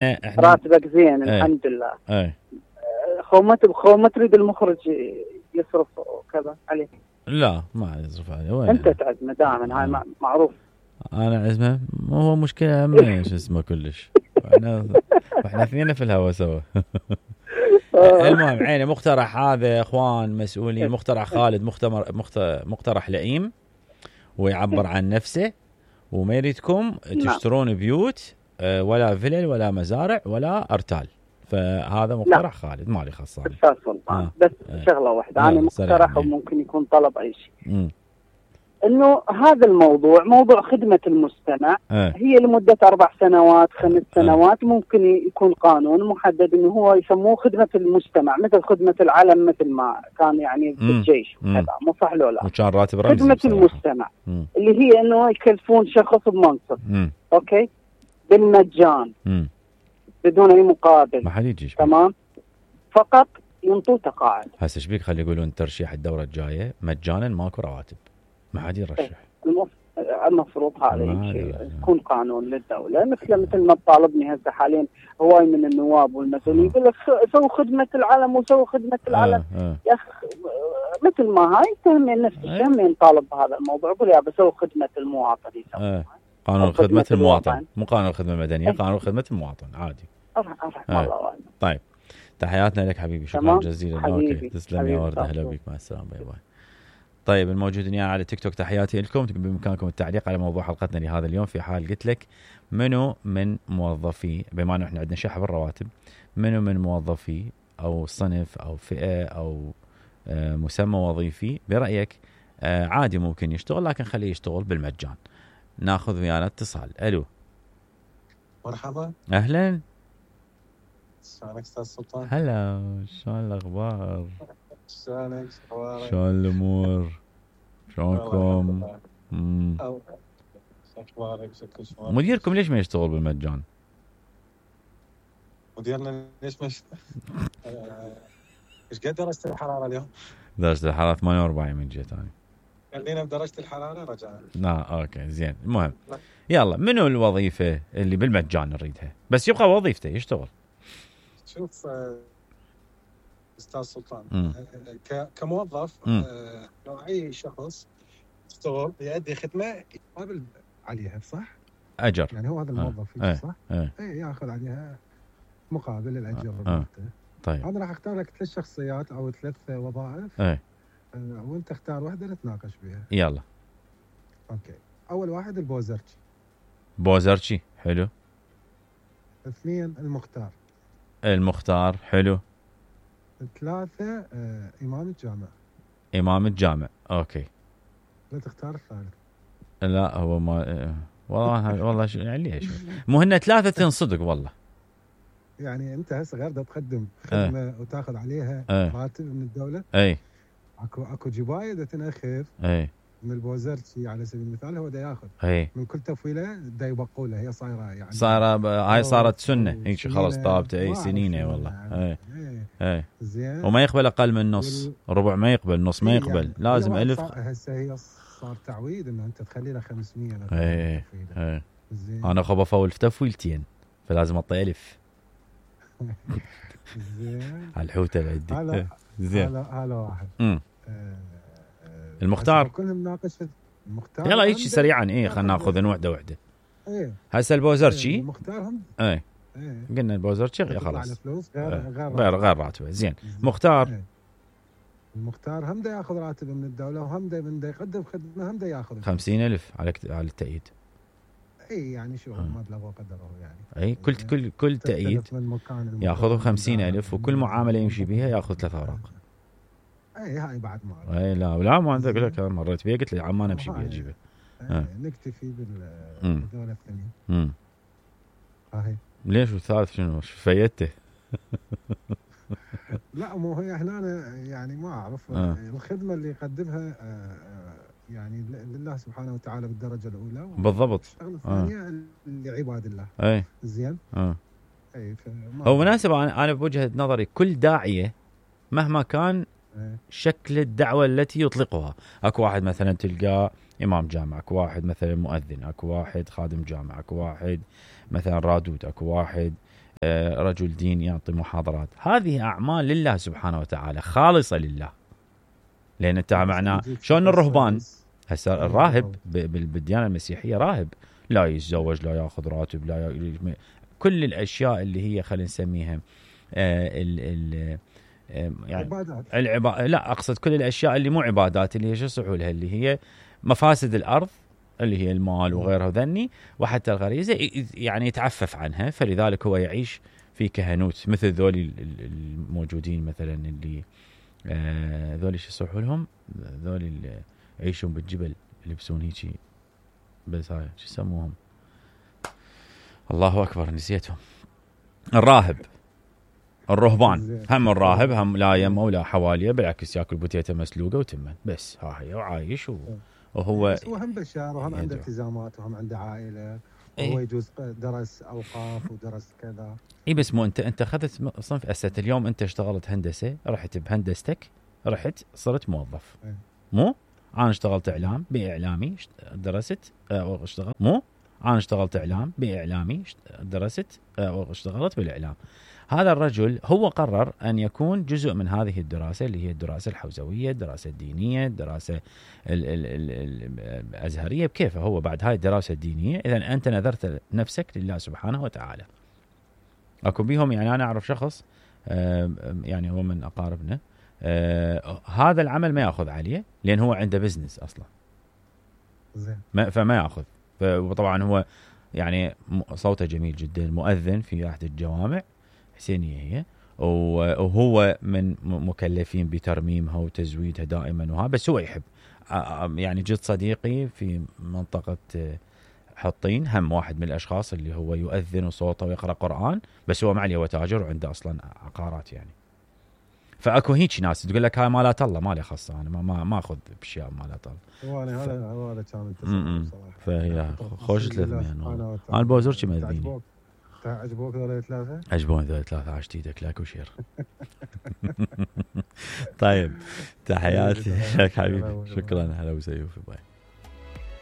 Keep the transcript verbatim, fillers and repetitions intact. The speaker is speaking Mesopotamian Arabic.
احنا راتبك زين ايه الحمد لله. ايه خو ما تب- خو ما تريد المخرج يصرف وكذا عليه. لا ما يصرف عليه وين. انت تعزمه دائما، هاي آه. معروف. انا عزمه مو هو مشكله هم شو اسمه كلش. احنا احنا اثنين في الهوا سوا. المهم عيني مقترح هذا اخوان مسؤولين، مقترح خالد، مختمر مقترح لئيم ويعبر عن نفسه، وما يريدكم تشترون بيوت ولا فلل ولا مزارع ولا ارتال، فهذا مقترح خالد مالي خاص. استاذ سلطان آه. بس آه. شغله واحده انا مقترح وممكن يكون طلب اي شيء، م. انه هذا الموضوع موضوع خدمه المستمع آه. هي لمده اربع سنوات خمس سنوات، آه. ممكن يكون قانون محدد انه هو يسموه خدمه المستمع، مثل خدمه العلم، مثل ما كان يعني في الجيش وكذا، مو صح لو لا؟ وكان راتب رمزي خدمه بصراحة. المستمع م. اللي هي انه يكلفون شخص بمنصب، م. اوكي، بالمجان م. بدون اي مقابل، ما حد يجي تمام، فقط ينطوا تقاعد. هسه ايش بيك خلي يقولون ترشيح الدوره الجايه مجانا ماكو رواتب، ما حد يرشح. المفروض هذا الشيء يكون قانون للدوله، مثل مثل ما طالبني هسه حاليا هواي من النواب والمسؤولين يقول لك سووا خدمه العلم وسووا خدمه العلم. آه آه. يا اخي مثل ما هاي تهمين نفس الشيء، همين طالب بهذا الموضوع، يقول يا بسوي خدمه المواطن. آه. قانون خدمه المواطن، مو قانون الخدمه المدنيه، قانون خدمه المواطن عادي. أرحم أرحم آه. الله. طيب تحياتنا لك حبيبي، شكرا جزيلا. اوكي تسلم يا ورده، هلا بك، مع السلامه، باي باي. طيب الموجودين يعني على تيك توك تحياتي لكم، بامكانكم التعليق على موضوع حلقتنا لهذا اليوم، في حال قلت لك منو من موظفي، بما انه احنا عندنا شحن بالرواتب، منو من موظفي او صنف او فئه او آه مسمى وظيفي برايك آه عادي ممكن يشتغل لكن خليه يشتغل بالمجان؟ ناخذ ويانا اتصال. الو مرحبا، اهلا، شلونك استاذ سلطان؟ هلا، شلون الاخبار؟ شلونك؟ اخبارك؟ شلون الامور؟ شلونكم؟ امم اخبارك؟ شكل شلون؟ مديركم ليش ما يشتغل بالمجان؟ مديرنا ليش ما يشتغل؟ ايش قد درجة الحرارة اليوم؟ درجة الحرارة ثمانية وأربعين من جهة ثانية. خلينا بدرجة الحرارة رجعنا. لا اوكي زين، المهم يلا منو الوظيفة اللي بالمجان نريدها بس يبقى وظيفته يشتغل؟ شوف استاذ سلطان، م. كموظف لو اي شخص يشتغل يؤدي خدمه يقابل عليها صح؟ اجر، يعني هو هذا الموظف اه. صح؟ اي اه. ياخذ عليها مقابل الاجر. اه. طيب انا راح اختار لك ثلاث شخصيات او ثلاث وظائف، اي اه. وانت اختار واحده نتناقش بها. يلا. اوكي، اول واحد البوزرتشي. بوزرتشي حلو. اثنين المختار. المختار حلو. ثلاثة آه، إمام الجامع. إمام الجامع أوكي. لا تختار الثالث. لا هو ما والله والله شو يعني ليش مو هن ثلاثة صدق والله. يعني أنت هسه غير تقدم خدمة أه. وتأخذ عليها أه. راتب من الدولة. أي. أكو أكو جباية دا تنأخذ. أي. من البوزرتشي على سبيل المثال هو دا ياخذ. أي. من كل تفويلة دا يبقوا له، هي صايرة يعني. صايرة ب... هاي صارت سنة هيك خلاص ثابتة. أي سنينة والله. يعني. أي. أي. زين. وما يقبل أقل من نص، وال... ربع ما يقبل، نص ما يقبل، يعني لازم ألف. هسه هي صار تعويض إنه أنت تخلي له خمسمية. أي. أي. زين. أنا خب أفول في تفويلتين فلازم أعطي ألف. زين. على الحوتة اللي عندي. هلا زين. هلا هلا واحد. امم المختار كلهم ناقش المختار. يلا هيك سريعا. ايه خلينا ناخذ وحده وحده. ايه هسه البوزرتشي. ايه المختار هم. ايه. ايه. قلنا البوزرتشي خلاص. غير ايه. غير غير غير راتبه. زين. مختار. ايه. المختار هم دا ياخذ راتب من الدوله، وهم دا من دا يقدم خدمه هم دا ياخذ خمسين ألف على على التأييد. اي يعني شو مبلغ وقدره يعني. اي كل كل كل تأييد ياخذوا خمسين ألف، وكل معامله يمشي بها ياخذ ثلاث اوراق. اي هاي بعد ما اي لا لا ما اقول لك مريت بيها قلت لي عم انا امشي بيها اجيبها. نكتفي بالدوله الثانيه. امم هاي ليش الثالث شنو فيته؟ لا مو هي هنا يعني ما اعرف. آه. الخدمه اللي يقدمها آه يعني لله سبحانه وتعالى بالدرجه الاولى بالضبط. الشغله الثانيه آه. لعباد الله. اي زين. اه اي هو مناسب. انا انا بوجهه نظري كل داعيه مهما كان أي. شكل الدعوه التي يطلقها، اكو واحد مثلا تلقاه امام جامع، اكو واحد مثلا مؤذن، اكو واحد خادم جامع، اكو واحد مثلا رادود، اكو واحد رجل دين يعطي محاضرات، هذه أعمال لله سبحانه وتعالى خالصة لله. لأن انت معناه شلون الرهبان هسه الراهب بالديانة المسيحية راهب لا يتزوج لا ياخذ راتب لا ي... كل الأشياء اللي هي خلينا نسميها آه ال ال يعني عبادات. العبا... لا أقصد كل الأشياء اللي مو عبادات، اللي هي شو يصحوا لها، اللي هي مفاسد الأرض اللي هي المال وغيرها ذني، وحتى الغريزة يعني يتعفف عنها. فلذلك هو يعيش في كهنوت مثل ذولي الموجودين مثلا اللي آه ذولي شو يصحوا لهم، ذولي اللي يعيشون بالجبل يلبسون هيجي بس هاي شو يسموهم، الله أكبر نسيتهم. الراهب الرهبان هم الراهب هم لا يمه ولا حواليه، بالعكس ياكل بوتيته مسلوقه وتمن بس ها هي وعايش و... وهو بس هو هم بشار وهم عنده التزامات وهم عنده عائله إيه؟ وهو يجوز درس اوقاف ودرس كذا. اي بس مو انت انت اخذت صنف اسات اليوم، انت اشتغلت هندسه رحت بهندستك رحت صرت موظف إيه؟ مو انا اشتغلت اعلام باعلامي درست اشتغلت مو انا اشتغلت اعلام باعلامي درست واشتغلت بالاعلام. هذا الرجل هو قرر أن يكون جزء من هذه الدراسة اللي هي الدراسة الحوزوية، الدراسة الدينية، الدراسة ال ال ال الأزهرية بكيفه هو بعد هاي الدراسة الدينية. إذن أنت نذرت نفسك لله سبحانه وتعالى. أكو بيهم يعني أنا أعرف شخص يعني هو من أقاربنا هذا العمل ما يأخذ عليه لأن هو عنده بزنس أصلا زين، فما يأخذ. وطبعا هو يعني صوته جميل جدا، مؤذن في أحد الجوامع حسينية هي، وهو من مكلفين بترميمها وتزويدها دائما وها، بس هو يحب. يعني جد صديقي في منطقة حطين هم واحد من الأشخاص اللي هو يؤذن وصوته ويقرأ قرآن، بس هو معلي هو تاجر وعنده أصلا عقارات يعني. فأكو هيك ناس تقول لك هاي مالات الله ما لي خاصة، أنا ما ما أخذ بأشياء مالات الله. هو أنا هذا هو هذا كان التصور صراحة. فهي خوش ثلاثمية أنا أنا بوزر شي مذبيني. عجبوك ذول ثلاثة؟ عجبوني ذول ثلاثة عشت ايدك لاك وشير. طيب تحياتي لك حبيبي، شكرا هلا وسهلا باي.